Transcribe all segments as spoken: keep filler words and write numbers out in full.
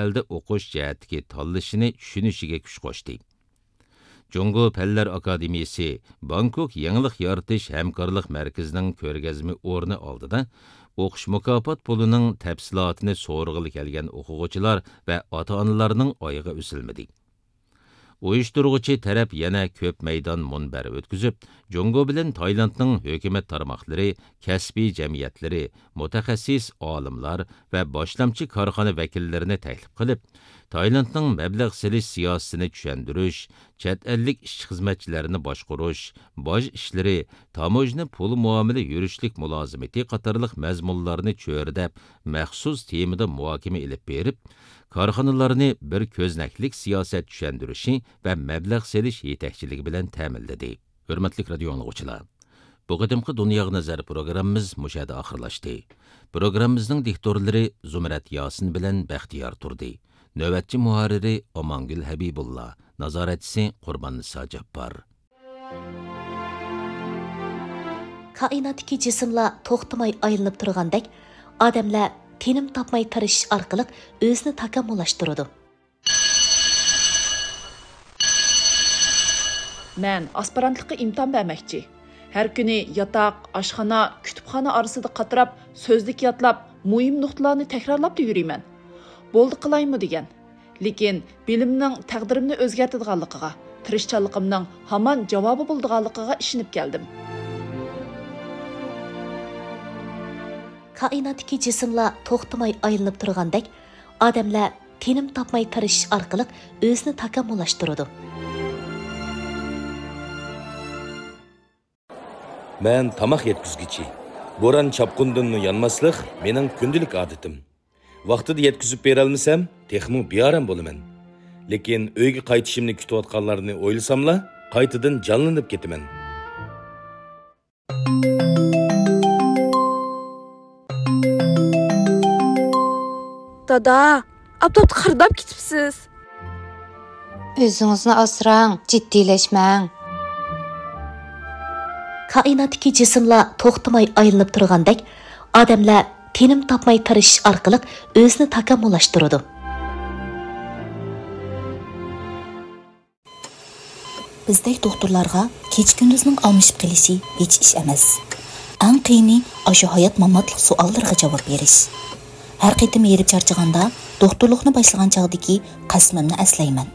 ئەلدە ئوقۇش جەھەتتىكى تاللىشىنى چۈشىنىشىگە كۈچ قوشتى. جۇڭگو پەنلەر ئاكادېمىيىسى بانكوك يېڭىلىق يارىتىش ھەمكارلىق مەركىزىنىڭ كۆرگەزمە ئورنى ئالدىدا ئوقۇش مۇكاپات پۇلىنىڭ تەپسىلاتىنى سورىغىلى كەلگەن ئوقۇغۇچىلار ۋە ئاتا-ئانىلارنىڭ ئايىغى ئۈزۈلمىدى. ئۇيۇشتۇرغۇچى تەرەپ يەنە كۆپ مەيدان مۇنبەر ئۆتكۈزۈپ، جۇڭگو بىلەن تايلاندنىڭ ھۆكۈمەت تارماقلىرى، كەسپىي جەمئىيەتلىرى، مۇتەخەسسىس ئالىملار ۋە باشلامچى كارخانا ۋەكىللىرىنى تەكلىپ قىلىپ، تايلاندنىڭ مەبلەغ سېلىش سىياسىتىنى چۈشەندۈرۈش، چەت ئەللىك ئىشچى-خىزمەتچىلەرنى باشقۇرۇش، باج ئىشلىرى، تاموژنا پۇل مۇئامىلە يۈرۈشلۈك مۇلازىمىتى قاتارلىق مەزمۇنلارنى چۆرىدەپ، مەخسۇس تېمىدا مۇھاكىمە ئېلىپ بېرىپ، كارخانىلارنى بىر كۆزنەكلىك سىياسەت چۈشەندۈرۈشى ۋە مەبلەغ سېلىش يېتەكچىلىكى بىلەن تەمىنلىدى. ھۆرمەتلىك رادىيو ئاڭلىغۇچىلار! بۇ قېتىمقى دۇنياغا نەزەر پروگراممىمىز مۇشۇ يەردە ئاخىرلاشتى. پروگراممىمىزنىڭ دىكتورلىرى زۇمرەت ياسىن بىلەن بەختىيار تۇردى. نۆۋەتچى مۇھەررىرى ئامانگۈل ھەبىبۇللا، نازارەتچىسى قۇرباننىسا جاپپار. كائىناتتىكى جىسىملار توختىماي ئايلىنىپ تۇرغاندەك، ئادەملەر تىنىم تاپماي تىرىشىش ئارقىلىق ئۆزىنى تاكامۇللاشتۇرىدۇ. مەن ئاسپىرانتلىققا ئىمتىھان بەرمەكچى. ھەر كۈنى ياتاق، ئاشخانا، كۇتۇپخانا ئارىسىدا قاتراپ، سۆزلۈك يادلاپ، مۇھىم نۇقتىلارنى تەكرارلاپلا يۈرىمەن. بولدى قىلايمۇ دېگەن. لېكىن بىلىمنىڭ تەقدىرىمنى ئۆزگەرتىدىغانلىقىغا، تىرىشچانلىقىمنىڭ ھامان جاۋابى بولىدىغانلىقىغا ئىشىنىپ كەلدىم. كائىناتتىكى جىسىملار توختىماي ئايلىنىپ تۇرغاندەك، ئادەملەر تىنىم تاپماي تىرىشىش ئارقىلىق ئۆزىنى تاكامۇللاشتۇرىدۇ. مەن تاماق يەتكۈزگۈچى. بوران-چاپقۇندىنمۇ يانماسلىق مېنىڭ كۈندىلىك ئادىتىم. ۋاقتىدا يەتكۈزۈپ بېرەلمىسەم، تېخىمۇ بىئارام بولىمەن. لېكىن ئۆيگە قايتىشىمنى كۈتۈۋاتقانلارنى ئويلىساملا، قايتىدىن جانلىنىپ كېتىمەن. دادا، ئاپتاپتا قىرداپ كېتىپسىز. ئۆزىڭىزنى ئاسراڭ، جىددىيلەشمەڭ. كائىناتتىكى جىسىملار توختىماي ئايلىنىپ تۇرغاندەك، ئادەملەر تىنىم تاپماي تىرىشىش ئارقىلىق ئۆزىنى تاكامۇللاشتۇرىدۇ. بىزدەك دوختۇرلارغا كېچە-كۈندۈزنىڭ ئالمىشىپ قېلىشى ھېچ ئىش ئەمەس. ئەڭ قىيىنى ئاشۇ ھايات-ماماتلىق سوئاللىرىغا جاۋاب بېرىش. ھەر قېتىم ھېرىپ چارچىغاندا، دوختۇرلۇقنى باشلىغان چاغدىكى قەسىمىمنى ئەسلەيمەن.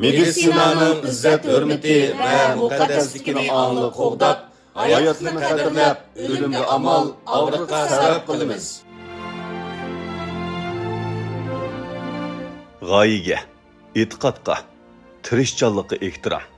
مېدىتسىنانىڭ ئىززەت-ھۆرمىتى ۋە مۇقەددەسلىكىنى ئاڭلىق قوغداپ، ھاياتلىقنى قەدىرلەپ، ئۆلۈمگە ئامال، ئاغرىققا سەۋەب قىلىمىز. غايىگە، ئېتىقادقا، تىرىشچانلىققا ئېھتىرام.